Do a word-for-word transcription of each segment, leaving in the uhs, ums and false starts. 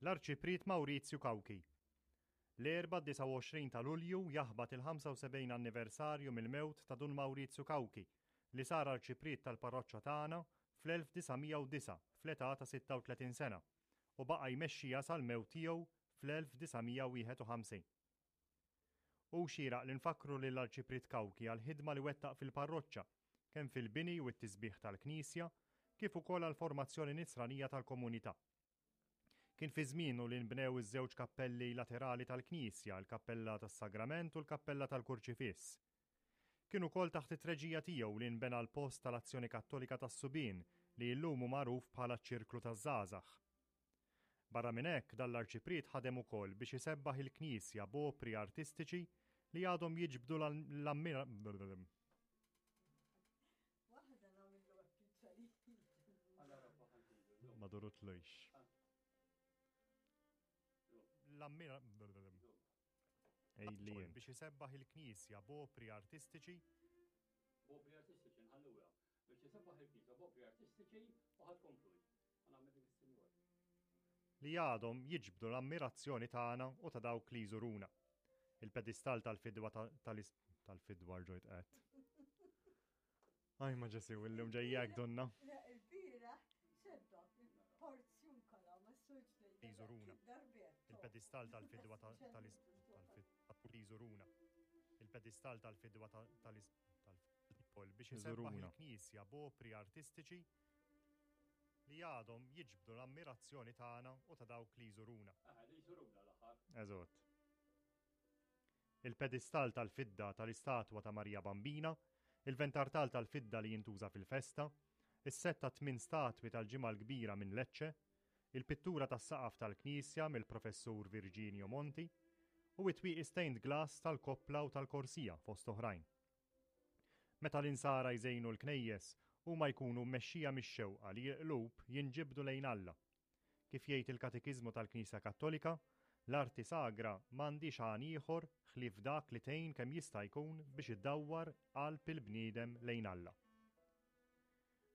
L-Arċipriet Mawrizju Cauchi. L-Erbgħa disgħa u għoxrin ta' Lulju jaħbat il-ħamsa u sebgħin anniversarju mill-mewt ta' Dun Mawrizju Cauchi li sar arċipriet tal-parroċċa tagħna fl-elf disa' mija u disgħa fl-età ta' sitta u tletin sena u baqa' jmexxiha sal-mewt tiegħu fl-elf disa' mija u wieħed u ħamsin. Hu xieraq li nfakkru lill-Arċipriet Cauchi għall-ħidma li wettaq fil-parroċċa, kemm fil-bini u t-tisbieħ tal-Knisja, kif ukoll għall-formazzjoni nisranija tal-komunità. Kien fi żmienu li nbnew iż-żewġ kappelli laterali tal-Knisja, il-Kappella tas-Sagrament u l-Kappella tal-Kurċifiss. Kien ukoll taħt it-treġija tiegħu li nbena l-post tal-Azzjoni Kattolika tas-Subien li llum hu magħruf bħala ċ-Ċirklu taż-Żgħażagħ. Barra minn hekk, dan l-arċipriet ħadem ukoll biex isebbaħ il-Knisja b'opri artistiċi li għadhom jiġbdu l-ammira. Waħda nagħmlu għappiċċa. Ma durutlux. L-ammira. Ejlien. Biex isebbaħ il-Knisja b'opri artistiċi. B'opri artistiċi nħalluha. Biex isebbaħ il-Knisja b'opri artistiċi u ħadd konkludi. Għamel dik is-sinjor. Li għadhom jiġbdu l-ammirazzjoni tagħna u ta' dawk li jżuruna. Il-pedestal tal-fidwa tal-fidwa rġojt qed. Aj ma ġesi, illum ġejjek donna. Le, il-bira, xedda, il-porzjun kolla, ma s-suġ Li jżuruna. Il-pedestal tal-fidwa tal-fidwa li jżuruna. Il-pedestal tal-fidwa tal-fidwa biex isebbaħ il-Knisja b'opri artistiċi li għadhom jiġbdu l-ammirazzjoni tagħna u ta' dawk li jżuruna. Ah, li jżuruna l-aħħar. Eżatt. Il-pedestal tal-fidda tal-istatwa ta' Marija Bambina, il-ventartal tal-fidda li jintuża fil-festa, is-sett ta' tmien statwi tal-Ġimgħa l-Kbira minn Lecce, il-pittura tas-saqaf tal-Knisja mill-Professur Virginio Monti u it-twieqi stained glass tal-koppla u tal-korsija fost oħrajn. Meta l-insara jżejnu l-knejjes, huma jkunu mmexxija mix-xewqa li l-qlub jinġibdu lejn Alla. Kif jgħid il-Katekiżmu tal-Knisja Kattolika, l-arti sagra m'għandix għan ieħor ħlief dak li tgħin kemm jista' jkun biex iddawwar qalb il-bniedem lejn Alla.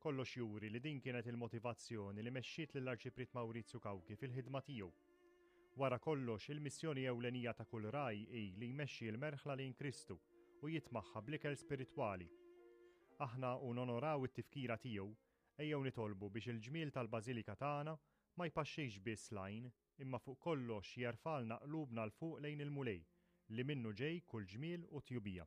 Kollox juri li din kienet il-motivazzjoni li mexxiet lill-Arċipriet Mawrizju Cauchi fil-ħidma tiegħu. Wara kollox, il-missjoni ewlenija ta' kull raj hi li jmexxi l-merħla lejn Kristu u jitmaħħa bl-ikel spiritwali. Aħna u nonoraw it-tifkira tiegħu, ejjew nitolbu biex il-ġmiel tal-Bażilika tagħna ma jpaxxix biss lajn, imma fuq kollox jerfalna qlubna l fuq lejn il-Mulej, li minnu ġej kull ġmiel u tjubija.